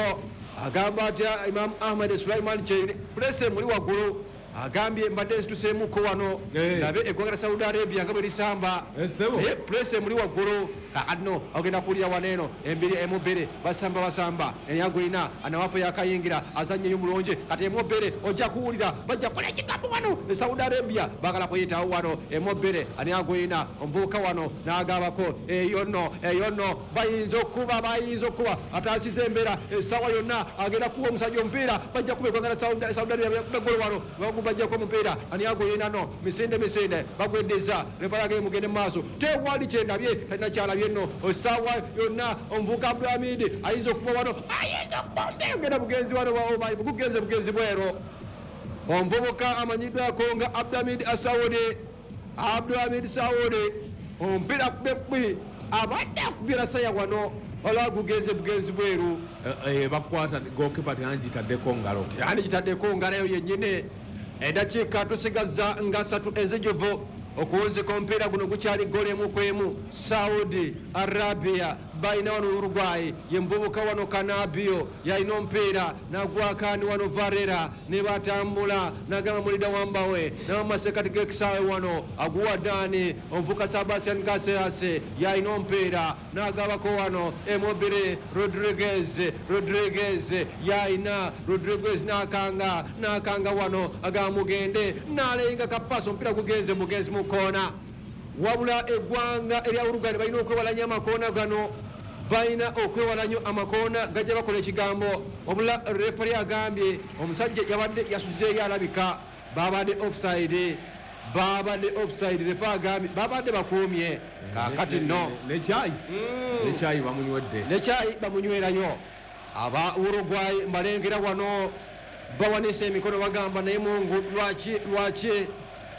agamba atya Imam Ahmed Sulaiman Kyeyune pulese muli waggulu agambye mbadde nsituseemuko wano nabe eggwanga la Saudi Arabia nga bwe lisamba, naye pulese muli waggulu. Kakati no ogenda kuwulira wano eno embiri emubere basamba basamba enyagulina anawafu yakayingira azannyeyo bulungi kati emubere ojja kuwulira bajja kukola ekigambo wano e Saudi Arabia bagala kuyitawo wano emubere anyagulina omuvubuka wano n'agabako eyo nno eyo nno bayinza okuba bayinza okuba ataasiza embeera essaawa yonna agenda kuwa omusajja omupiira bajja kuba eggwanga la Saudi Arabia golo wano bagubajjako omupiira anyagulina no misinde misinde bagweddiza refa yageye mugende mu maaso tewali kyendabye talina kyalabye no osaawa yonna omuvubuka Abdulhamid ayinza okuba wano ayinza okuba omupiira gugenda bugenzi wano gugenze bugenzi bwero. Omuvubuka amanyiddwako nga Abdulhamid Asaudi, Abdulhamid Saudi omupiira kubekbi abadde akubira saya wano olwa gugenze bugenzi bweru. Bakwata goalkeeper teyandikitaddeko ngalo, teyandikitaddeko ngalo eyo yennyini. Eddakiika tusigaza nga ssatu ezijjuvu okuwunzika omupiira guno gukyali ggoolo emu ku emu. Saudi Arabia balina wano Uruguay ye muvubuka wano Kanabio yalina omupiira n'agwakaani wano Varela ne batambula n'agamba mulida wambawe n'amasekati g'ekisaawe wano aguwa Dani omuvubuka Sebastian Caceres yalina omupiira n'agabako wano Emobile Rodriguez Rodriguez yalina Rodriguez n'akanga n'akanga wano agamba mugende n'aleyinga kapaasi omupiira gugenze mugenzi mu koona. Wabula eggwanga erya Uruguay balina okwewala nnyo amakoona gano, balina okwewala nnyo amakoona gajja bakola ekigambo. Wabula referi agambye omusajja yabadde yasuzeeyo alabika babadde offside, babadde offside. Refa agambye babadde bakuumye kaakati nno nekyayi nekyayi bamunywedde, nekyayi bamunywerayo. Aba Uruguay mbalengera wano bawanise emikono bagamba naye Mungu lwaki lwaki,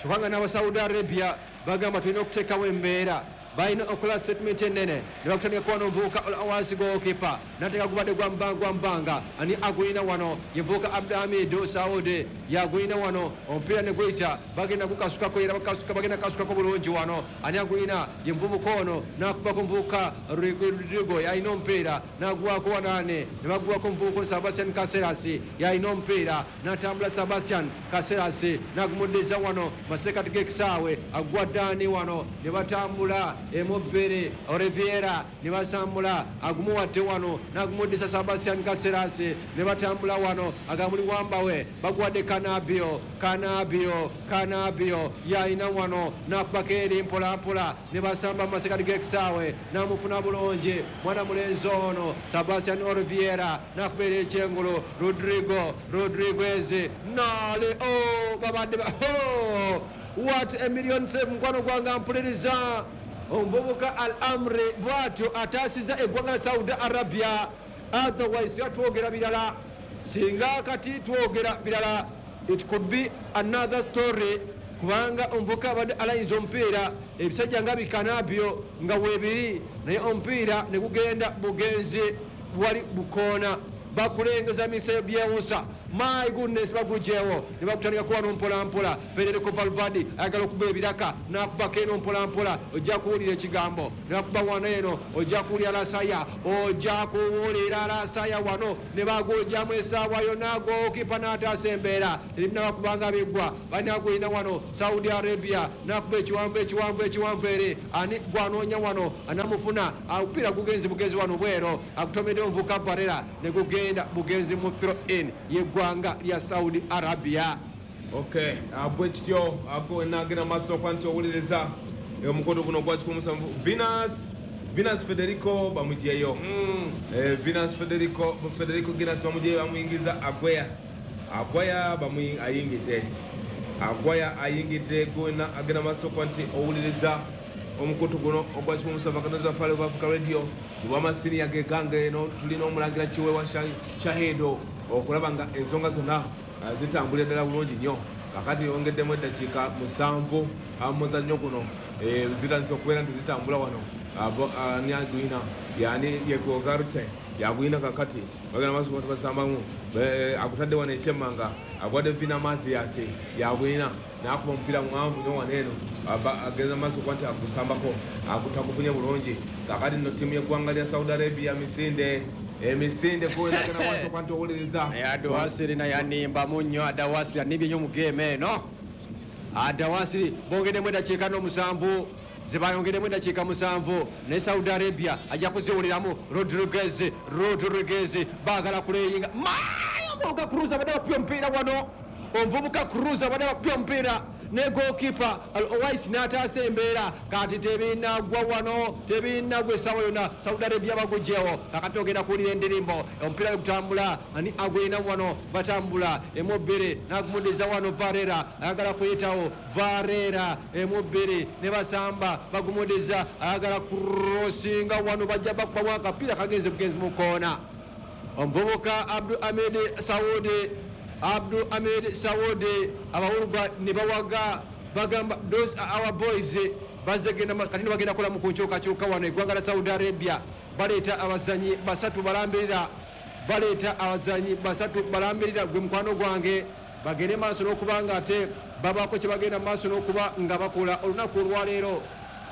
kyokka nga n'aba Saudi Arabia bagamba tulina okuteekawo embeera. Balina okukola statement ennene ne bakutandika kuba n'omuvubuka wansi goalkeeper n'ateeka gubadde gwa mbanga gwa mbanga ani agulina wano ye muvubuka Abdulhamidu Saudi yagulina wano omupiira ne guyita bagenda gukasukako era bakasuka bagenda kasukako bulungi wano ani agulina ye muvubuka ono n'akubako omuvubuka Rodrigo yalina omupiira n'aguwako wanaane ne baguwako omuvubuka Sebastian Caceres yalina omupiira n'atambula Sebastian Caceres n'agumuddiza wano masekati g'ekisaawe agwa ddaani wano ne batambula emubbere Oliveira ne basambula agumuwadde wano n'agumuddisa Sebastian Caceres ne batambula wano agamuli wambawe baguwadde Kanabio Kanabio Kanabio yalina wano n'akubako eri mpolampola ne basamba mu masekati g'ekisaawe n'amufuna bulungi mwana mulenzi ono Sebastian Oliveira n'akubeera ekyengulu Rodrigo Rodriguez nale oh babadde ba oh what a million save mukwano gwange mpuliriza omuvubuka Al Amri bwatyo ataasiza eggwanga lya Saudi Arabia. Otherwise twogera birala, singa kati twogera birala it could be another story, kubanga omuvubuka abadde alayinza omupiira ebisajja nga bikanabyo nga weebiri naye omupiira ne gugenda bugenzi wali bukoona bakulengeza misayo byewusa. My goodness, bagujewo ne bakutandika kuba mpola mpola. Federico Valverde ayagala okuba ebiraka n'akubako eno mpola mpola, ojja kuwulira ekigambo ne bakuba wano eno, ojja kuwulira lasaya, ojja kuwulira lasaya wano ne bagujjamu essaawa yonna goalkeeper n'ataasa embeera ebinaba kubanga biggwa balina gulina wano Saudi Arabia n'akuba ekiwanvu ekiwanvu ekiwanvu eri ani gwanoonya wano anamufuna omupiira gugenzi bugenzi wano bwero agutomedde omuvuka Varela ne gugenda bugenzi mu throw in yeggwa lya Saudi Arabia. Okay, bwe kityo nagenda maaso okuba nti owuliriza omukoto guno ogwa kikumi musanvu Venus Venus Federico bamugyeyo mm. eh, Venus Federico Federico Guinness bamugyeyo bamuyingiza Agwaya Agwaya bamuyi ayingidde Agwaya ayingidde gona agenda maaso okuba nti owuliriza omukutu guno ogwa kikumi musanvu akanoza Pale of Africa Radio lwamasini yagegange eno tulina omulangira Kiweewa Shahido okulaba nga ensonga zonna zitambulira ddala bulungi nnyo. Kakati yongeddemu eddakiika musanvu muzannyo guno zitandise okubeera nti zitambula wano ani agwina yani yegogarute yagwina kakati bagenda maaso kuba basambamu akutadde wano ekyemmanga agwadde Vina Mathias yagwina n'akuba omupiira muwanvu nnyo wano eno agenda maaso kuba nti agusambako tagufunye bulungi. Kakati nno ttiimu y'eggwanga lya Saudi Arabia misinde emisinde kuwelagana maaso kuba nti owuliriza Adawasiri naye animbamu nnyo. Adawasiri anibye nnyo mu geemu eno. Adawasiri bongeddemu eddakiika n'omusanvu zibayongeremu eddakiika musanvu ne Saudi Arabia ajja kuziwuliramu. Rodriguez Rodriguez baagala kuleyinga mayo Cruz abadde bapya omupiira wano omuvubuka Cruz abadde bapya omupiira ne goalkeeper Owais n'ataasa embeera. Kati tebinagwa wano tebinagwa essaawa yonna Saudi Arabia bagugyewo. Kakati ogenda kuwulira endirimbo omupiira gutambula ani agwina wano batambula emubbiri n'agumuddiza wano Varela ayagala kuyitawo Varela emubbiri ne basamba bagumuddiza ayagala kurosinga wano bajja bakubamu akapiira kagenze bugenzi mu koona. Omuvubuka Abdul Hamid Saudi Abdul Hamid Saudi abawulugwa ne bawaga bagamba those are our boys bazegenda kati bagenda kola mu kunkyukakyuka wano eggwanga lya Saudi Arabia baleeta abazanyi basatu balambirira baleeta abazanyi basatu balambirira gwe mukwano gwange bagende maaso n'okuba nga ate babaako kye bagenda maaso n'okuba nga bakola olunaku olwaleero.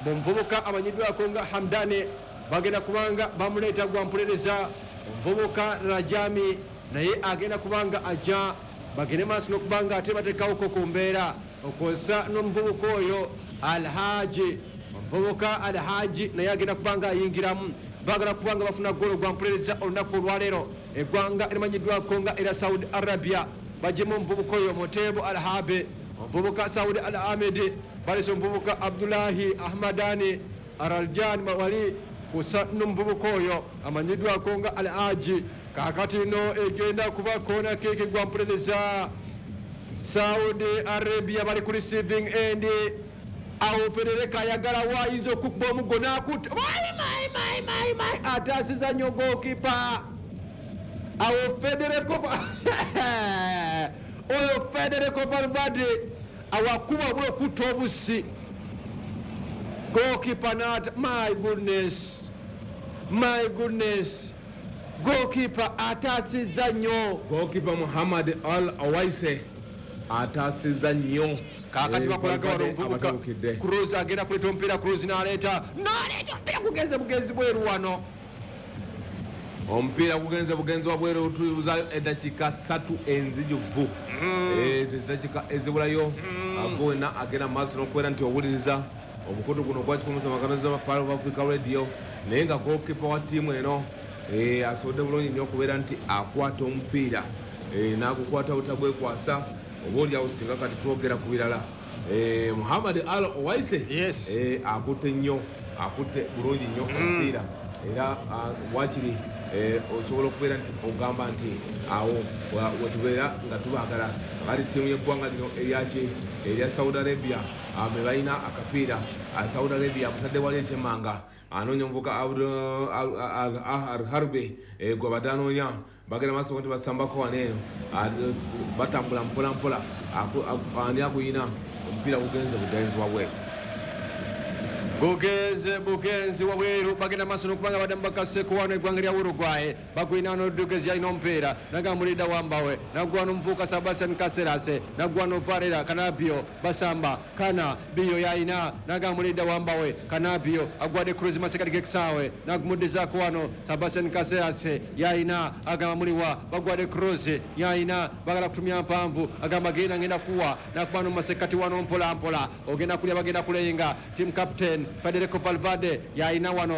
Omuvubuka amanyiddwako nga Hamdane bagenda kubanga bamuleeta gwampulereza omuvubuka Rajami naye agenda kubanga ajja bagende maaso n'okubanga ate bateekawoko ku mbeera okwozesa n'omuvubuka oyo Alhaji omuvubuka Alhaji naye agenda kubanga ayingiramu baagala kubanga bafuna golo gwampulereza olunaku olwaleero. Eggwanga erimanyiddwako nga era Saudi Arabia bagyemu omuvubuka oyo Motebo Alhabe omuvubuka Saudi Al Ahmed balese omuvubuka Abdullahi Ahmadani Araljan wali kusa n'omuvubuka oyo amanyiddwako nga Alhaji. Kakati no egenda kuba kona keke gwampulereza Saudi Arabia bali ku receiving end awo Federico ayagala wayinza okukuba omugo n'akutta mai mai mai mai ataasiza nnyo goalkeeper awo Federico oyo Federico Valverde awakuba obula okutta obusi Goalkeeper not, my goodness, my goodness, goalkeeper ataasizza nnyo. Goalkeeper Muhammad Al Awaise ataasizza nnyo. Kakati Eh, bakolaga wano Valverde omuvubuka abatabukidde. Cruz agenda kuleeta omupiira. Cruz n'aleeta n'aleeta omupiira, gugenze bugenzi bweru wano. Omupiira gugenze bugenzi wabweru. Tubuzayo eddakiika ssatu enzijuvu, ezo eddakiika ezibulayo. Ago wena agenda mu maaso n'okubeera nti owuliriza omukutu guno ogwa kikumi Pearl of Africa Radio. Naye nga goalkeeper wa ttiimu eno eh, asobodde bulungi nnyo okubeera nti akwata omupiira, eh, n'agukwata butagwekwasa. Oba oliawo singa kati twogera ku birala. Eh, muhammad Al Owaise Yes. eh, akutte nnyo, akutte bulungi nnyo omupiira. Era ah, wakiri eh, osobola okubeera nti ogamba nti awo wa- wetubeera nga tubaagala. Kakati ttiimu y'eggwanga lino eryaki, erya Saudi Arabia, ah, be balina akapiira. Ah, Saudi Arabia akutadde wali ekyemmanga, anoonya omuvuka Al Harbe gwe badde anoonya. Bagenda maaso nti basambako wano eno. Ah, batambula mpolampola. Aku- aku- ani akuyina omupiira? Gugenze bugenzi wabweru. Gugenze bugenzi wabweru. Bagenda maaso nokubanga baddamu bakaseko wano eggwanga lya Uruguay. Bagwina Rodriguez yalina omupiira, nagamulidda wambawe, nagwa nomuvuka Sebastian Caceres, nagwa no Varela Canabio. Basamba kana biyo yalina, nagamulidda wambawe Canabio, agwadde Cruz masekati gekisaawe, nagumuddizaako wano Sebastian Caceres yalina, agamba muliwa. Bagwadde Cruz yalina, bagala kutumya mpanvu, agamba genda, ngenda kuwa, nakuba nomumasekati wano mpola mpola, ogenda kulya, bagenda kulenga. Team captain Federico Valverde yalina wano.